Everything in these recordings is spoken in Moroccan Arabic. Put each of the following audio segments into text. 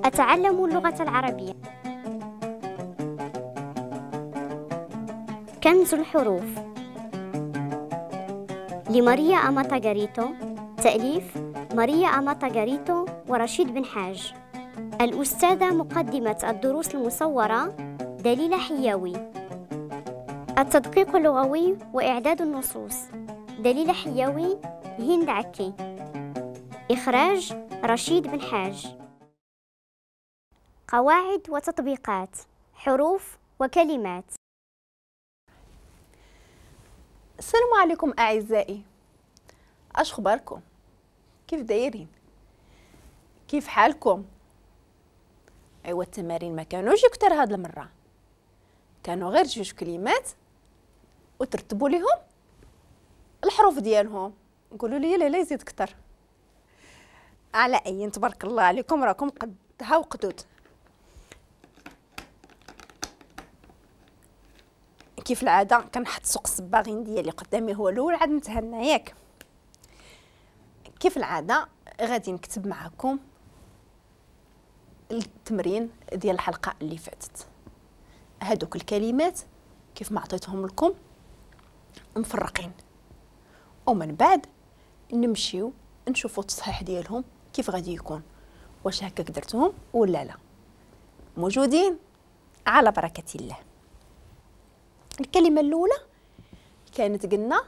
أتعلم اللغة العربية. كنز الحروف لماريا أماتا غاريتو، تأليف ماريا أماتا غاريتو ورشيد بن حاج. الأستاذة مقدمة الدروس المصورة دليلة حياوي. التدقيق اللغوي وإعداد النصوص دليلة حياوي، هند عكي. إخراج رشيد بن حاج. قواعد وتطبيقات، حروف وكلمات. السلام عليكم أعزائي، أش خباركم؟ كيف دايرين؟ كيف حالكم؟ أيوا التمارين ما كانوش كتر هاد المرة، كانوا غير جوج كلمات وترتبوا لهم الحروف ديالهم. قولوا لي لا لا يزيد كتر. على أي تبارك الله عليكم، راكم قدها وقدود. كيف العادة كنحط سوق الصباغين ديالي قدامي هو الاول عاد نتهنى ياك. كيف العادة غادي نكتب معكم التمرين ديال الحلقة اللي فاتت. هادوك الكلمات كيف ما عطيتهم لكم مفرقين، ومن بعد نمشيو نشوفوا التصحيح ديالهم كيف غادي يكون، واش هكاك درتهم ولا لا. موجودين على بركة الله. الكلمة الأولى كانت قلنا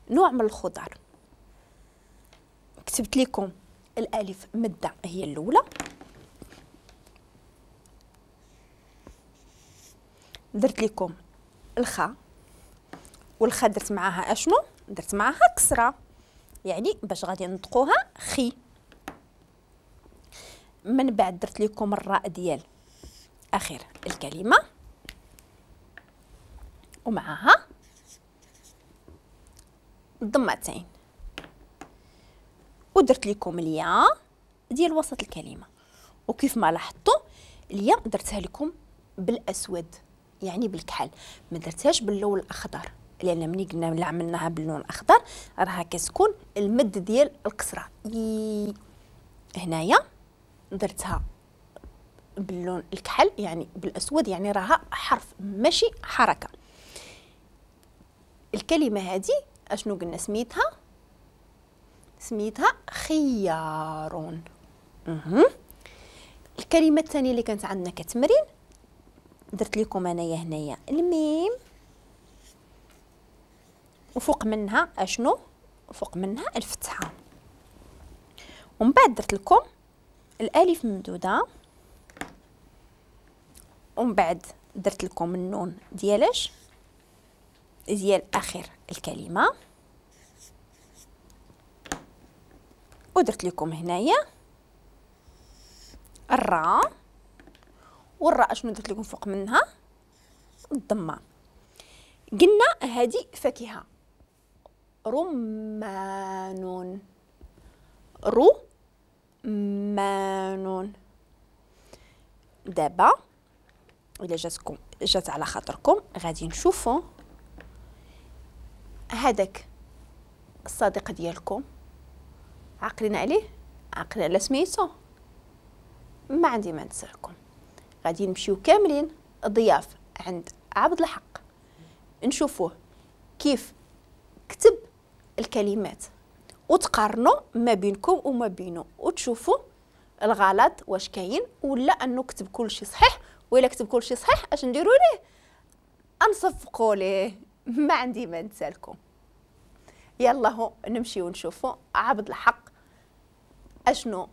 نوع من الخضر، كتبت لكم الألف مدة هي الأولى، درت لكم الخاء، والخاء درت معاها أشنو؟ درت معاها كسرة، يعني باش غادي نطقوها خي. من بعد درت لكم الراء ديال أخير الكلمة ومعها الضمتين، ودرت لكم الياء ديال وسط الكلمة. وكيف ما لاحظتوا الياء درتها لكم بالاسود يعني بالكحل، ما درتهاش باللون الاخضر، لان ملي قلنا ملي عملناها باللون الاخضر راها كتكون المد ديال الكسرة. هنايا درتها باللون الكحل يعني بالاسود، يعني راها حرف ماشي حركة. الكلمة هذه اشنو قلنا سميتها؟ سميتها خيار. الكلمة الثانية اللي كانت عندنا كتمرين درت لكم انايا هنايا الميم، وفوق منها اشنو؟ فوق منها الفتحة. ومن بعد درت لكم الالف ممدوده، ومن بعد درت لكم النون ديالاش؟ ديال اخر الكلمة، ودرت لكم هنايا الراء، والراء شنو درت لكم فوق منها؟ الضمة. قلنا هذه فاكهة، رمان، رمان. دابا الا جاتكم جات على خاطركم غادي نشوفوا هذاك الصديق ديالكم، عقلين عليه، عقلين على سميتو، ما عندي ما نسالكم. غادي نمشيو كاملين ضياف عند عبد الحق، نشوفوه كيف كتب الكلمات وتقارنوا ما بينكم وما بينه، وتشوفوا الغلط واش كاين ولا انه كتب كل شيء صحيح. وإلا كتب كل شيء صحيح اش نديروا ليه؟ انصفقوا ليه. ما عندي ما نسالكم. يلا هو نمشيو نشوفوا عبد الحق اشنو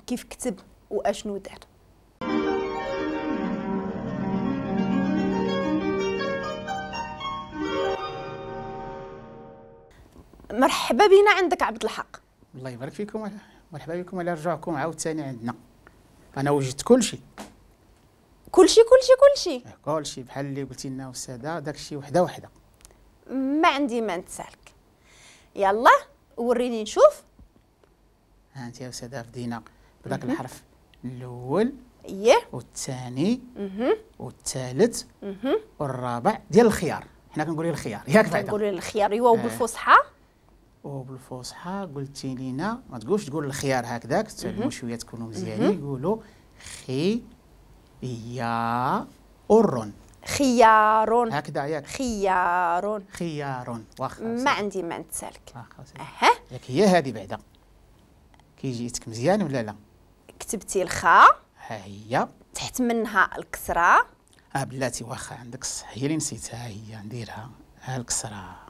كيف كتب واشنو دار. مرحبا بنا عندك عبد الحق. الله يبارك فيكم، مرحبا بكم على رجوعكم عاوتاني عندنا. انا وجدت كل شيء كل شيء كل شيء كل شيء كل شيء بحال اللي قلتي لنا استاذه، داك الشيء وحده وحده. ما عندي ما نتسالك. يلا وريني نشوف. ها انت يا استاذه بدينا بداك الحرف الاول، اييه، والثاني، والثالث، والرابع ديال الخيار. حنا كنقولوا الخيار ياك؟ بعدا كنقولوا الخيار ايوا، وبالفصحى وبالفصحى قلتي لينا ما تقولش تقول الخيار هكذاك، تعلموا شوية تكونوا مزيانين، يقولوا خي يا أرن. خيار هكذا ياك؟ خيار. خيار. واخا ما عندي ما نتسالك. اها ياك هي هذه بعدا كي جيتك مزيان ولا لا؟ كتبتي الخاء، ها هي تحت منها الكسرة. بلاتي واخا عندك الصح، هي اللي نسيتها، هي نديرها ها الكسرة.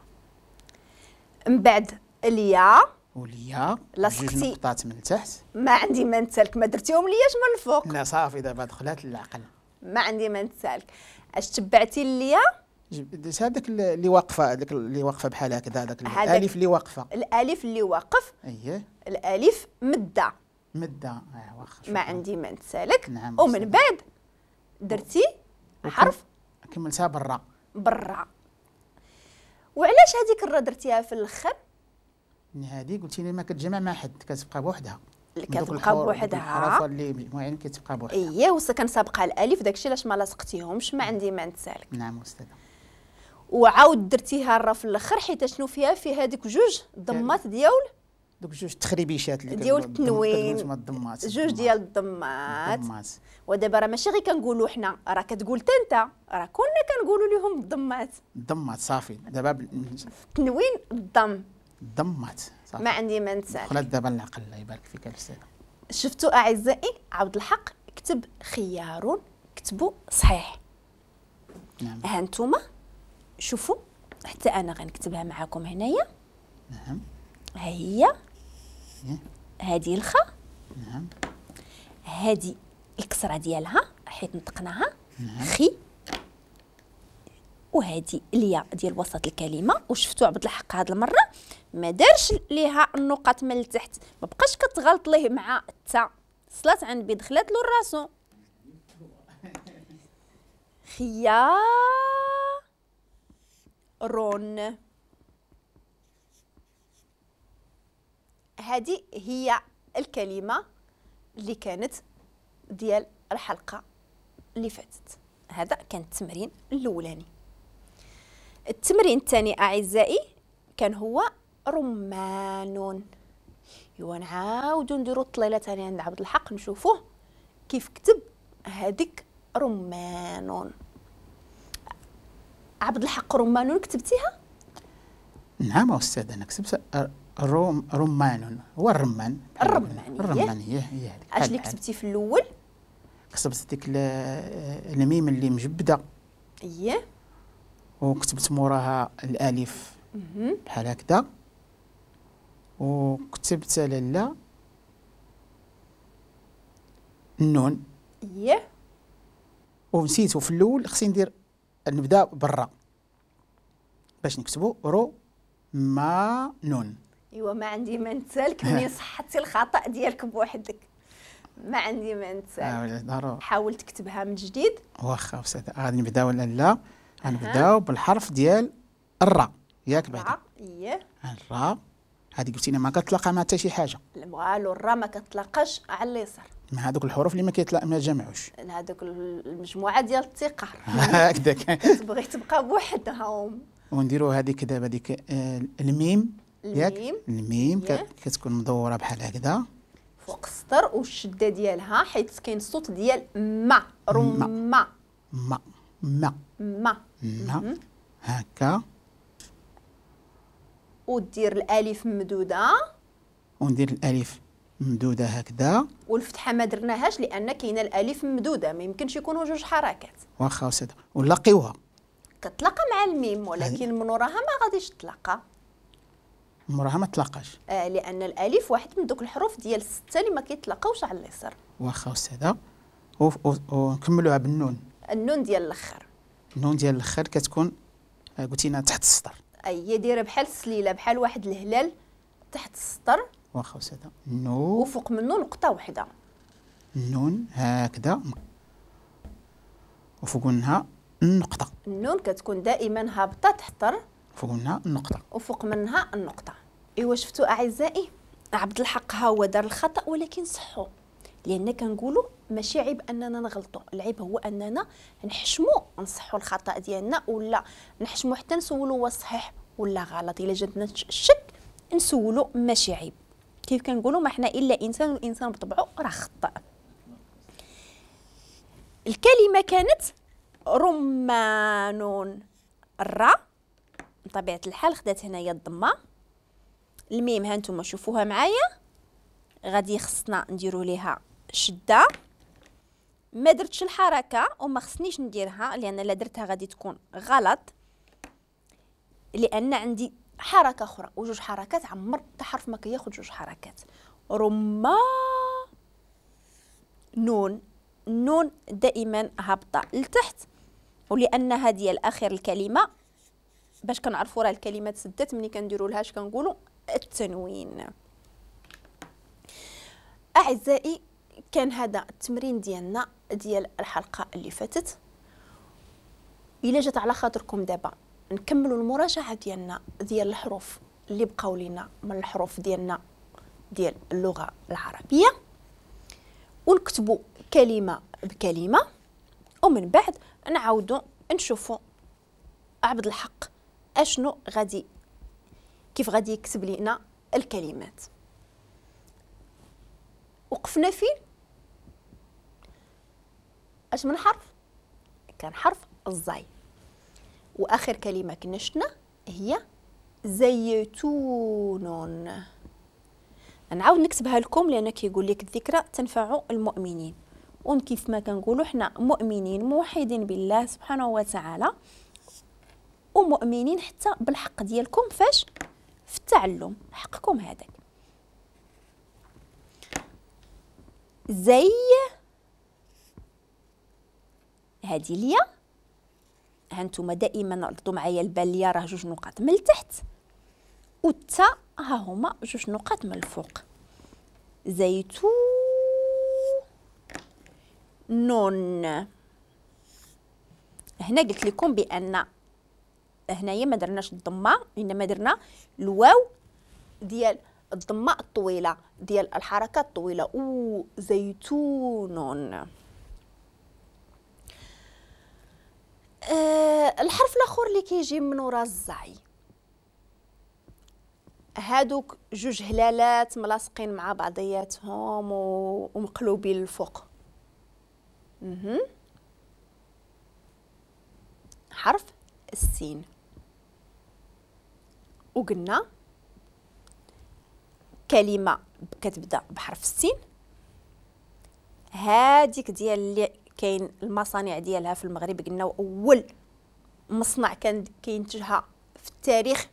من بعد اليا واليا جوج نقطات من تحت. ما عندي ما نتسالك، ما درتيهم لياش من الفوق. لا صافي دابا دخلات للعقل. ما عندي ما نتسالك. اش تبعتي اليا؟ درت هذاك اللي واقفة، هذاك اللي واقفة بحال هكذا، هذاك الالف اللي واقفة. الالف اللي واقف. اييه الالف مده. مده واخا ما عندي ما نتسالك. نعم. ومن بعد درتي حرف كملتها بالراء. بالراء. وعلاش هذيك الراء درتيها في الاخر؟ هذه قلتي لي ما كتجمع مع حد، كتبقى بوحدها. كتبقى بوحدها. الحروف اللي مجموعين كتبقى بوحدها. اييه وكان سابقها الالف، داكشي علاش ما لاصقتيهمش. ما عندي ما نتسالك. نعم استاذه. وعاود درتيها الراء في الاخر حيت شنو فيها؟ فيها ديك جوج ضمات ديال دوك جوج تخريبيشات اللي ديال التنوين، الضمات، جوج ديال الضمات. ودابا راه ماشي غير كنقولوا حنا، راه كتقول حتى انت، راه كنا كنقولوا لهم الضمات. الضمات صافي دابا التنوين الضم. الضمات صافي. ما عندي ما نتسال. دخلت دابا العقل. الله يبارك فيك الاستاذة. شفتوا اعزائي عبد الحق كتب خيار، كتبوا صحيح. نعم. ها انتم شوفوا حتى انا غنكتبها معاكم هنايا. نعم. ها هي هذه الخاء. نعم. هذه الكسرة ديالها حيت نطقناها. نعم. خي، وهذه الياء ديال وسط الكلمة. وشفتوا عبد الحق هذه المرة ما دارش ليها النقط من التحت، ما بقاش كتغلط ليه مع التاء، صلات عند بي دخلات له راسو. خيار. هذه هي الكلمة اللي كانت ديال الحلقة اللي فاتت. هذا كان التمرين الأولاني. التمرين الثاني أعزائي كان هو رمان. ايوا نعاودو نديرو الطليلة ثاني عند عبد الحق نشوفوه كيف كتب هذيك رمان. عبد الحق رمان كتبتيها؟ نعم أستاذ، أنا كتبت رمان. هو الرمان. الرمان. الرمان هي هذيك. اش اللي كتبتي في الاول؟ كتبت ديك الميم اللي مجبده. اييه. وكتبت موراها الالف بحال هكذا. وكتبت لالا النون. اييه. ونسيت في الاول خصني ندير نبدا بالراء باش نكتبوا رو ما نون. ايوا ما عندي ما نتسالك منين صحتي الخطا ديالك بوحدك. ما عندي ما نتسالك. حاول تكتبها من جديد. واخا استاذ غادي نبداو ولا لا؟ غنبداو بالحرف ديال الراء ياك بعدا؟ اييه. الراء هذه قلتي لنا ما كتلاقى مع حتى شي حاجة. والو الراء ما كتلاقاش على اليسار مع هذوك الحروف اللي ما جمعوش، هذوك المجموعة ديال الثقة هكذاك تبغي تبقى بوحدهم. ونديروا هذيك دابا ديك الميم ياك؟ الميم كتكون مدورة بحال هكذا فوق السطر، والشدة ديالها حيت كاين الصوت ديال ما، رما ما ما ما ما هكا. ودير الالف ممدوده، وندير الالف ممدوده هكذا، والفتحة ما درناهاش لان كاينه الالف ممدوده، ما يمكنش يكونوا جوج حركات. واخا استاذ، ونلاقيوها كتلاقى مع الميم، ولكن من وراها ما غاديش تلاقى. من وراها ما تلاقاش، لان الالف واحد من دوك الحروف ديال الستة اللي ما كيتلاقاوش على اليسار. واخا استاذه، ونكملوها بالنون. النون ديال الاخر. النون ديال الاخر كتكون قلتي لنا تحت السطر. اي دايرة بحال السليله، بحال واحد الهلال تحت السطر. واخا استاذه، نون وفوق منه نقطة واحدة. النون هكذا وفوق منها النقطة. النون كتكون دائما هابطة تحت فوق منها النقطة وفوق منها النقطة. ايوا شفتوا اعزائي عبد الحق ها هو دار الخطا ولكن صحو، لان كنقولوا ماشي عيب اننا نغلطوا، العيب هو اننا نحشموا نصحوا الخطا ديالنا، ولا نحشموا حتى نسولوا واش صحيح ولا غلط. الا جاتنا الشك نسولو ماشي عيب. كيف كنقولوا ما حنا الا انسان، والانسان بطبعه راه خطأ. الكلمة كانت رمان، الرا بطبيعة الحال خدات هنايا الضمة، الميم ها نتوما شوفوها معايا غادي خصنا نديرو ليها شده. ما درتش الحركة وما خصنيش نديرها لان لا درتها غادي تكون غلط، لان عندي حركة اخرى وجوج حركات، عمر حتى حرف ما كياخذ جوج حركات. رما نون، النون دائما هابطة لتحت، ولانها ديال اخر الكلمة باش كنعرفوا راه الكلمة تسدت ملي كنديروا لها اش كنقولوا التنوين. اعزائي كان هذا التمرين ديالنا ديال الحلقة اللي فاتت. الا جات على خاطركم دابا نكملوا المراجعة ديالنا ديال الحروف اللي بقاو لينا من الحروف ديالنا ديال اللغة العربية، ونكتبوا كلمة بكلمه، ومن بعد نعاودوا نشوفوا عبد الحق اشنو غادي كيف غادي يكتب لنا الكلمات. وقفنا فين؟ اش من حرف؟ كان حرف الزاي، واخر كلمة كنا شفنا هي زيتون. نعاود نكتبها لكم لان كيقول لك الذكرى تنفع المؤمنين، وكيف ما كنقولوا حنا مؤمنين موحدين بالله سبحانه وتعالى، ومؤمنين حتى بالحق ديالكم فاش في التعلم، حقكم هذاك. زي هذه اليا، هانتوما دائما ردوا معايا البال، اليا راه جوج نقاط من التحت، والتا ها هما جوج نقاط من الفوق. زيتون نون. هنا قلت لكم بان هنايا ما درناش الضمة، انما درنا الواو ديال الضمة الطويلة ديال الحركة الطويلة، او زيتون. الحرف الاخر اللي كيجي من ورا الزاي، هادوك جوج هلالات ملاصقين مع بعضياتهم ومقلوبين للفوق. حرف السين. وقلنا كلمة كتبدا بحرف السين، هاديك ديال اللي كاين المصانع ديالها في المغرب، قلنا اول مصنع كان كينتجها في التاريخ